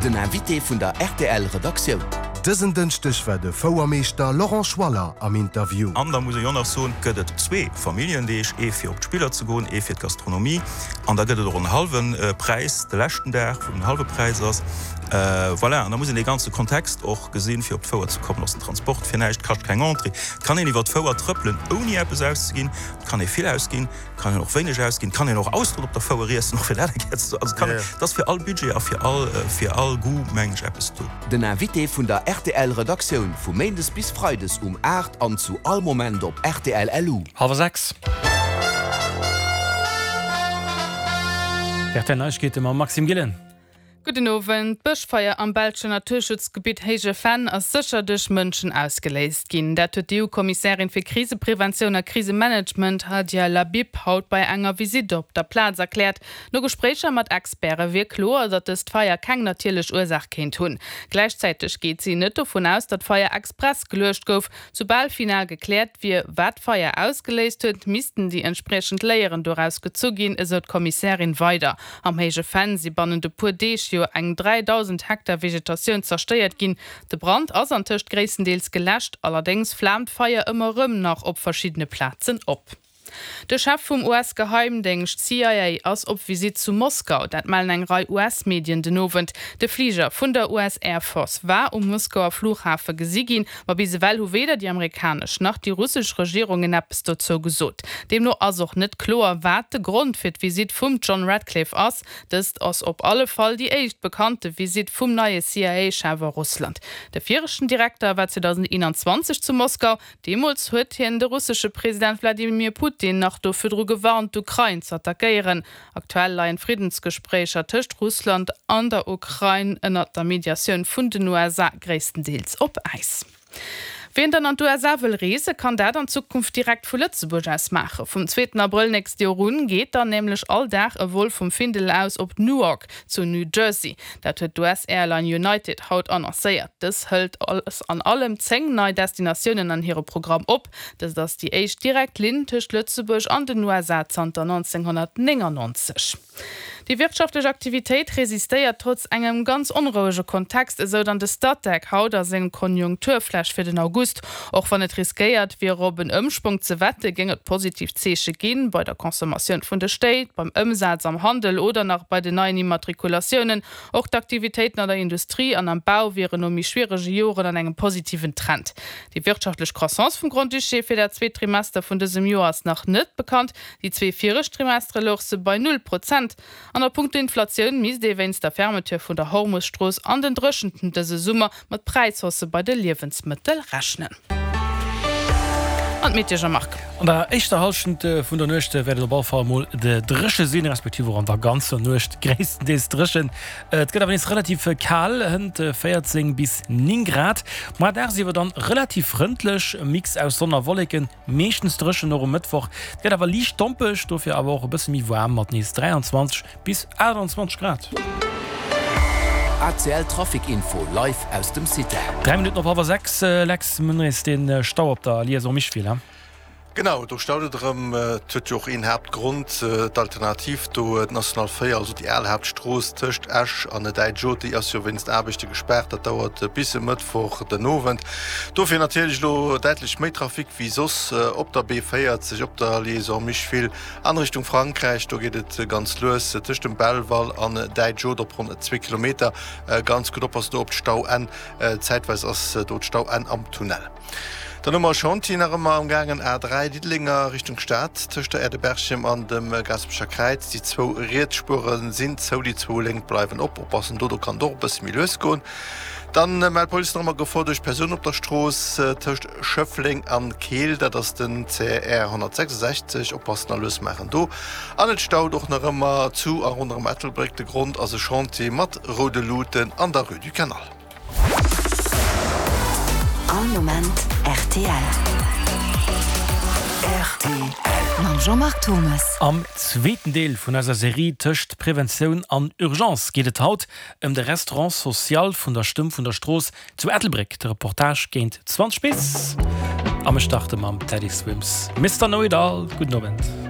Den Invité vun der rtl Redaktioun. Dësen Dënschdeg war de Fouermeeschter Laurent Schwaller am Interview. An da muss ech och nach soen, gëtt et zwee Familljendeeg, ee fir op d'Spiller ze goen, ee fir d'Gastronomie. An da gëtt et och en hallwe Präis de leschten Dag, wou den hallwe Präis ass. Voilà, an da muss een dee ganze Kontext och gesinn, fir op d'Fouer ze kommen. Ass den Transport fir näischt, kascht keng Entrée. Et kann een iwwer d'Fouer trëppelen, ouni eppes auszeginn. Et kann ee vill ausginn. Kann een och wéineg ausginn, kann een och Austeren op der Fouer iessen, och fir dat eng Kéier ze soen. Also kann, et ass fir all Budget a fir all, fir all Goût, mengen ech, eppes do. Den Invité vun der rtl Redaktioun vu Méindes bis Freides um 8 an zu all Moment op rtl LU. Hallwer 6. D'RTL Neiegkeete mam Maxime Gillen. Gudden Owend. D'Bëschfeier am belschen Naturschutzgebitt Héije Venn ass sécher duerch Mënschen ausgeléist ginn. Dat huet d'EU-Kommissärin fir Krisepreventioun a Krisemanagement Hadja Lahbib haut bei enger Visitt op der Plaz erkläert. No Gespréicher mat Experte wier kloer, datt dëst Feier keng natierlech Ursaach kéint hunn. Gläichzäiteg geet si net dovun aus, datt d'Feier express geluecht gouf. Soubal final gekläert wier, wat d'Feier ausgeléist huet, missten déi entspriechend Léieren doraus gezu ginn, esou d'Kommissärin weider. Am Héije Venn si bannent e puer Deeg jo eng 3.000 Hektar Vegetatioun zerstéiert ginn. De Brand ass antëscht gréisstendeels geläscht, allerdéngs flaamt d'Feier ëmmer erëm nach op verschiddene Plazen op. De Chef vum US-Geheimdéngscht CIA ass op Visitt zu Moskau. Dat mellen eng Rei US-Medien den Owend. De Fliger vun der US Air Force war um Moskauer Flughafe gesi ginn, ma bis ewell hu weder déi amerikanesch nach déi russesch Regierungen eppes dozou gesot. Deemno ass och net kloer, wat de Grond fir d'Visitt vum John Ratcliffe ass. Dëst ass op alle Fall déi éischt bekannte Visitt vum neie CIA-Chef a Russland. De viregten Direkter war 2021 zu Moskau. Deemools huet hien de russesche President Wladimir Putin nach do virdru gewarnt, d'Ukrain z'attackéieren. Aktuell leien d'Friddensgespréicher tëscht Russland an der Ukrain ënnert der Mediatioun vun den USA gréisstendeels op Äis. Wien dann an d'USA wëll reese, kann dat an Zukunft direkt vu Lëtzebuerg aus maachen. Vum zweeten Abrëll nächst Joer un geet dann nämlech all Dag e Vol vum Findel aus op Newark zu New Jersey. Dat huet d'US-Airline United haut annoncéiert. Dës hëlt alles an allem 10 nei Destinatiounen an hire Programm op. Dëst ass déi éischt direkt Linn tëscht Lëtzebuerg an den USA zanter 1999. Déi wirtschaftlech Aktivitéit resistéiert trotz engem ganz onrouege Kontext, esou dann de Statec haut a sengem Konjunkturflash fir den August. Och wann et riskéiert wier op en Ëmsprong ze wette, géing et positiv Zeeche ginn, bei der Consommatioun vun de Stéit, beim Ëmsaz am Handel oder nach bei den neien Immatrikulatiounen. Och d'Aktivitéiten an der Industrie an am Bau wieren no méi schwierege Joren an engem positiven Trend. Déi wirtschaftlech Croissance vum Grand-Duché fir dat zweet Trimester vun dësem Joer ass nach net bekannt. Déi zwee viregt Trimestere louch se bei null Prozent. An a punkto Inflatioun misst ee wéinst der Fermeture vun der Hormus-Strooss an den Dréchenten dëse Summer mat Präishaussë bei de Liewensmëttel rechnen. An d'Meteo Jean-Marc. An der éischter Hallschent vun der Nuecht wäert et op alle Fall emol dréche sinn, respektiv och an der ganzer Nuecht gréisstendeels dréchen. Et gëtt awer nees relativ kal, hënt 14 bis 9 Grad. Moar dagsiwwer dann relativ frëndlech, e Mix aus Sonn a Wolleken. Meeschtens dréchen och um Mëttwoch. Et gëtt awer liicht dompeg, dofir awer och e bësse méi waarm mat nees 23 bis 28 Grad. ACL Trafic Info live aus dem Cité. 3 Minutten op hallwer 6, Lex, mir hunn nees den Stau op der Liaison Micheville. Genau, do staut et erëm. Et huet jo och een Haaptgrond, d'Alternativ do, d'National 4, also déi al Haaptstrooss tëscht Esch an Däitsch Haute, déi ass jo wéinst Aarbechte gespaart. Dat dauert bis e Mëttwoch den Owend. Dofir natierlech elo däitlech méi Trafic wéi soss op der B40, op der Liaison Micheville an Richtung Frankräich. Do geet et ganz lues tëscht dem Belval an Däitsch-Haute op ronn zwee Kilometer. Ganz gutt oppassen do op d'Stauenn, zäitweis ass do d'Stauenn am Tunnel. Dann hu mer e Chantier nach ëmmer am gaangen, A3 Diddeleng a Richtung Stad, tëscht der Aire de Berchem an dem Gaasperecher Kräiz. Déi zwou riets Spuere sinn zou, déi zwou lénk bleiwen op. Oppassen do, do kann et och e bësse méi lues goen. Dann mellt d'Police nach ëmmer Gefor duerch Persoun op der Strooss tëscht Schëffleng an Keel, dat ass den CR 166. Oppassen a lues maachen do. An et staut och nach ëmmer zu a ronderëm Ettelbréck. De Grond ass e Chantier mat roude Luuten an der Rue du Canal. All Moment rtl. Rtl. Mam Jean-Marc Thomas. Am zweeten Deel vun eiser Serie tëscht Preventioun an Urgence geet et haut ëm de Restaurant social vun der Stëmm vun der Strooss zu Ettelbréck. De Reportage géint 20 bis a mir starte mam Teddy Swims, Mister Know It All. Gudden Owend.